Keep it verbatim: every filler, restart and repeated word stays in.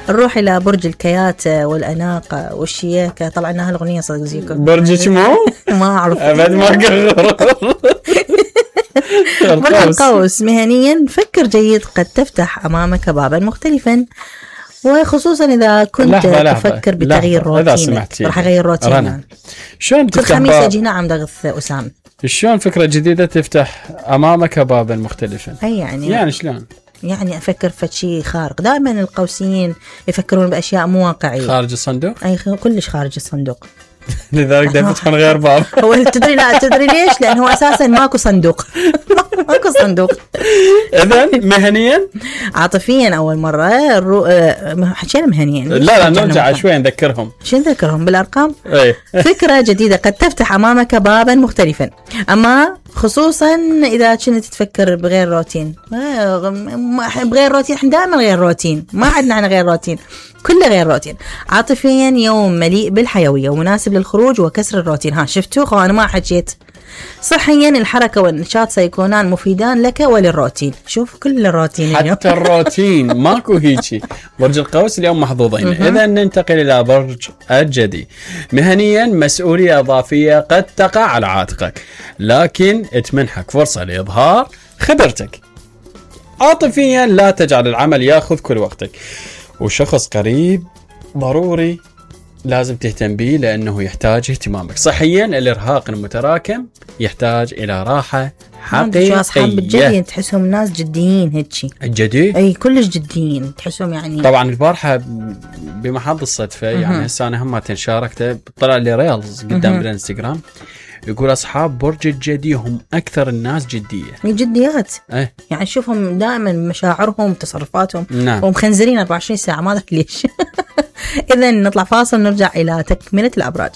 نروح إلى برج الكياتة والأناقة والشياكة. طلعناها الأغنية صدق زيكو. برج شمو؟ ما أعرف أبد ما قرر. برج القوس مهنيا فكر جيد، قد تفتح أمامك بابا مختلفا، وخصوصا إذا كنت لحظة تفكر لحظة بتغيير روتينك. راح أغير روتينك. شلون كل خميس أجي نعم دغث أسام. شلون فكرة جديدة تفتح أمامك بابا مختلفا؟ أي يعني يعني شلون؟ يعني أفكر في شيء خارق. دائما القوسيين يفكرون بأشياء مو واقعية، خارج الصندوق. أي كلش خارج الصندوق. لذلك دائما تكون غير باب. هو تدري لا تدري ليش؟ لأنه هو أساسا ماكو صندوق. ماكو صندوق. إذن مهنيا عاطفيا أول مرة الرو... حكينا مهنيا. لا لا نرجع شوي نذكرهم. شو نذكرهم بالأرقام؟ ايه. فكرة جديدة قد تفتح أمامك بابا مختلفا، أما خصوصا إذا كنت تفكر بغير روتين. بغير روتين، احنا دائما غير روتين، ما عندنا عن غير روتين، كله غير روتين. عاطفيا يوم مليء بالحيوية ومناسب للخروج وكسر الروتين. ها شفتوا أنا ما حكيت. صحيا الحركة والنشاط سيكونان مفيدان لك وللروتين. شوف كل الروتين حتى الروتين ماكو هيجي. برج القوس اليوم محظوظين. إذا ننتقل إلى برج الجدي. مهنيا مسؤولية إضافية قد تقع على عاتقك، لكن تمنحك فرصة لإظهار خبرتك. عاطفيا لا تجعل العمل يأخذ كل وقتك، وشخص قريب ضروري لازم تهتم به لأنه يحتاج اهتمامك. صحيا الإرهاق المتراكم يحتاج إلى راحة حقيقية. شو أصحاب الجدي تحسهم ناس جديين هيك. الجدي؟ أي كلش جديين تحسهم يعني. طبعا البارحة بمحض الصدفة يعني هسه أنا هم تنشاركته طلع لي ريلز قدام بالانستغرام يقول أصحاب برج الجدي هم أكثر الناس جدية. جديات. أه؟ يعني شوفهم دائما مشاعرهم تصرفاتهم. نعم. ومخنزرين أربعة وعشرين ساعة ما أدري ليش. إذن نطلع فاصل نرجع إلى تكملة الأبراج.